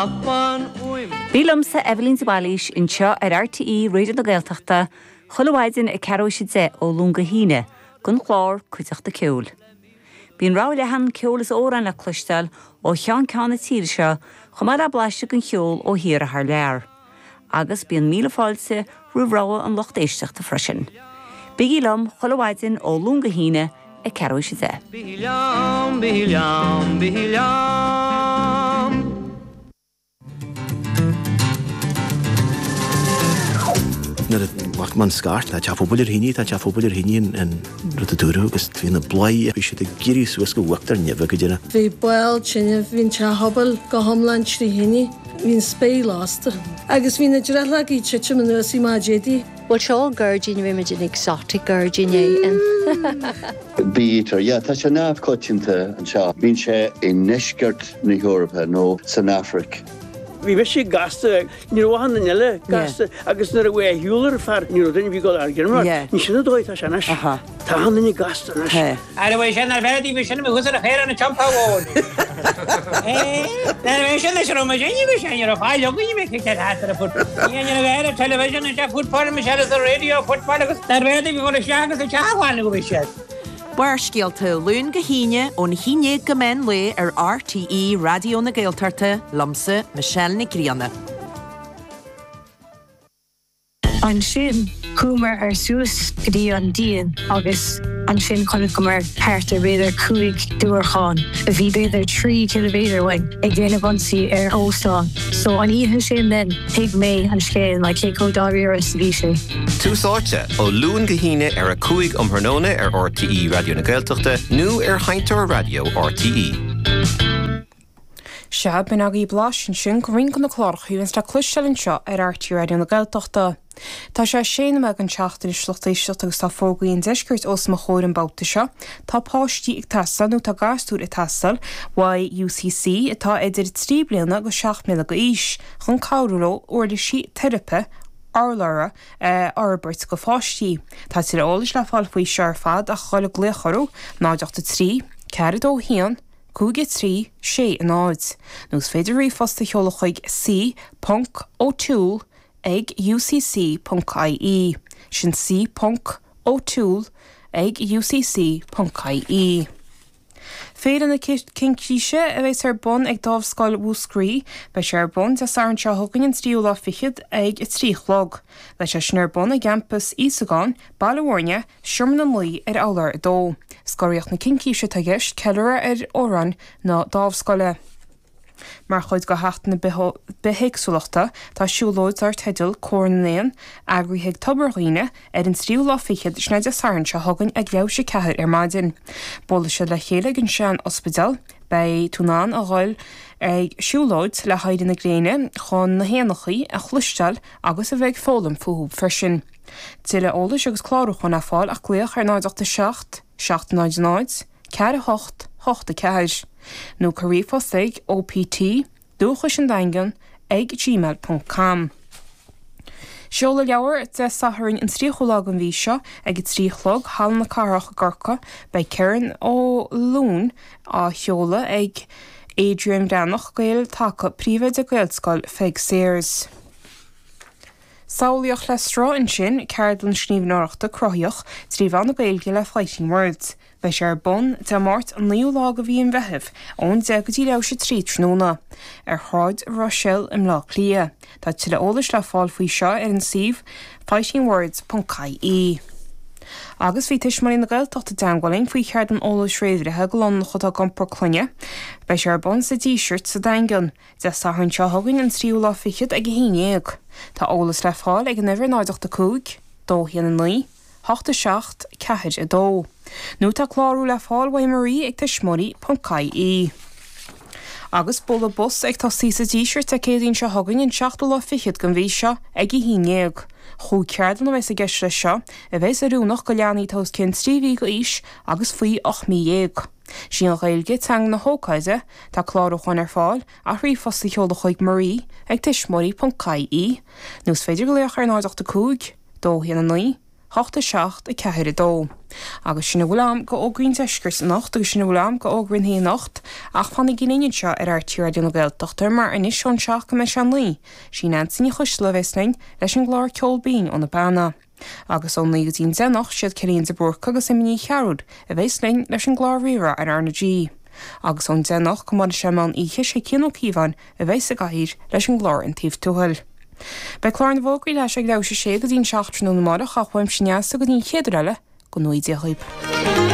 Ná fan uaim. Bí liomsa, Eibhlín de Bhailís, anseo ar RTÉ Raidió na Gaeltachta chuile mhaidin ag ceathrú théis a 10 ó Luan go hAoine don chlár Cuideachta Ceoil. Bíonn rogha leathan ceoil is amhrán le cloisteáil ó cheann ceann na tíre seo chomh maith le blaiseadh den cheol ó thíortha thar lear. Agus bíonn míle fáilte roimh rogha an lucht éisteachta freisin. Bígí liom chuile mhaidin ó Luan go hAoine ag ceathrú théis a 10. Bígí liom, bígí liom, bígí liom. Nuair a ghlac mé an scairt, tá teach pobail ar thine, tá teach pobail ar thine an rud a dúradh agus bhí na bladhairí, bhí siad ag éirí suas go huachtar neimhe go deireadh. Bhí baol tine, bhí an teach pobail go hiomlán trí thine, bhí an spéir lasta agus bhí na drithleogaí ag titim anuas i maide éadaí. Bhuel seo gairdín, bhí muid in exotic gairdín é in. Bee-eater, yeah, tá sé neamhchoitianta anseo. Bíonn sé i ndeisceart na hEorpa nó san Afraic. Bhí mise gasta, ní raibh achan duine eile gasta agus nuair a bhí a shiúl ar fear ní raibh duine a bhí ag dul ar ghiormar. Ní sin an dóigh atá sé anois. Tá achan duine gasta anois. Ara bhí sin ar bheith bhí sin thuas ar a chéire an tsiopa mhóir. Nuair a bhí sin is raibh muid inniu bhí sé ní raibh fáil againn bhí cic ar thart ar a foot. Ní raibh air an television an football Michelle is the radio football agus ar bheith bhí dul isteach agus isteach bhaile go bhí siad. Barrscéalta, Luan go hAoine, ón 11 go meán lae ar RTÉ Raidió na Gaeltachta, liomsa, Michelle Nic Grianna. Ansin chuamar ar suas go dtí an díon agus ansin chonaiceamar thart ar b'fhéidir 5 diúracán a bhí b'fhéidir 3 ciliméadar uainn ag déanamh ionsaí ar óstán. So an oíche sin then thuig mé an scéal like cé chomh dáiríre is a bhí sé. Tús Áite, ó Luan go hAoine ar 5 um thráthnóna ar RTÉ Raidió na Gaeltachta nó ar Sheinnteoir Raidió RTÉ. Sea, b'in agaibh blaiseadh ansin de roinnt de na cláracha a bhíonns le cloisteáil anseo ar RTÉ Raidió na Gaeltachta. Tá sé sé nóiméad don seacht anois lucht éisteachta agus tá fógraí an deiscirt os mo chomhair an babhta seo. Tá páistí ag teastáil, nó tá gasúir ag teastáil, uaidh UCC atá idir 3 bliana agus 7 mbliana d'aois, chun cabhrú leo uirlisí teiripe urlabhra a fhorbairt do pháistí. Tá tuilleadh eolais le fáil faoi seo ar fad ach a dhul ag glaoch orthu, 0 8 3 4 2 1 5 3 6 0, nó is féidir ríomhphost a sheoladh chuig c ponc o'toole ag ucc ponc ie. Sin c ponc o'toole ag ucc ponc ie. Féile na Cincíse a bheas ar bun ag Dámhscoil Mhúscraí. Beidh sé ar bun Dé Sathairn seo chugainn an tríú lá fichead ag a 3 a chlog. Beidh sé sin ar bun i gCampas Íosagáin, Baile Mhúirne, Seomra na Naoi ar urlár 2. Scoraíocht na Cincíse atá i gceist, ceiliúradh ar fhoireann na Dámhscoile. Mar chuid de Sheachtain na Bithéagsúlachta, tá siúlóid dar teideal 'Cór na nÉan', eagraithe ag Tobar Dhuibhne, ar an tríú lá fichead, sin é Dé Sathairn seo chugainn ag leathuair théis a ceathair ar maidin. Buailfidh siad le chéile ag an sean-ospidéal. Beidh tú in ann a dhul ag siúlóid le héirí na gréine chun na héanachaí a chloisteáil agus a bheith ag foghlaim fúthu freisin. Tuilleadh eolais agus clárúcháin le fáil ach glaoch ar 0 8 7 7 0 0 4 8 8 4 nó cuir ríomhphost ag OPT, Dúchais an Daingean, ag gmail ponc com. Seoladh leabhar Dé Sathairn an 30ú lá den mhí seo ag a 3 a chlog, Halla na Cathrach i gCorcaigh. Beidh Kerron Ó Luain á sheoladh ag Adrian Breathnach, Gael Taca, Príomhoide Gaelscoil Pheig Sayers. Samhlaíocht le Sruth ansin, ceardlann scríbhneoireachta cruthaitheach trí mheán na Gaeilge le Fighting Words. Beidh sé ar bun Dé Máirt an 9ú lá de mhí an Mheithimh ón 10 go dtí leathuair théis a 3 tráthnóna, ar Shráid Ruiséal i mBleá Cliath. Tá tuilleadh eolais le fáil faoi seo ar an suíomh fightingwords ponc ie. Agus bhí Tuismitheoirí na Gaeltachta i dteangmháil linn faoi cheardlann eolais réamhbhreithe do lánúineacha atá ag iompar clainne. Beidh sé ar bun sa Díseart sa Daingean. Dé Sathairn seo chugainn an tríú lá fichead ag 11. Tá eolas le fáil ag an uimhir 0 8 5 2 1 9 8 7 4 2. Nó tá clárú le fáil uaidh Marie ag tuismitheoirí ponc ie. Agus bualadh bos ag tosaí sa Díseart Dé Céadaoin seo chugainn an seachtú lá fichead den mhí seo ag 11. Chúig cheardlann a bheas i gceist leis seo, a bheas oiriúnach do leanaí atá os cionn 3 mhí d'aois agus faoi 18 mí. Sí an Ghaeilge teanga na hócáide, tá clárúcháin ar fáil ach ríomhphost a sheoladh chuig Marie ag tuismitheoirí ponc ie nó is féidir glaoch ar 0 8 5 2 1 9. 8 7 4 2. Agus sin a bhfuil a'm go fhógraí an deiscirt anocht agus sin a bhfuil a'm go fhógraí an thae anocht ach fanaigí linn anseo ar RTÉ Raidió na Gaeltachta mar anois ón 7 go mbeidh sé 9, sí Neansaí Ní Choisdealbha a bheas linn leis an gclár Ceol Binn ó na Beanna. Agus ón 9 go dtí an 10 anocht siad Cillian de Búrca agus Emma Ní Chearúil a bheas linn leis an gclár Rí-Rá ar R na G. Agus ón 10 anocht go mbuailfidh sé meán oíche sé Cian Ó Cíobháin a bheas sa gcathaoir leis an gclár An Taobh Tuathail. Beidh clár na bhfógraí leis ag leathuair tar éis a sé go dtí an 7 tráthnóna amárach ach uaimse Neasa go dtí an chéad uair eile, go ngnóthaí Dia dhaoib.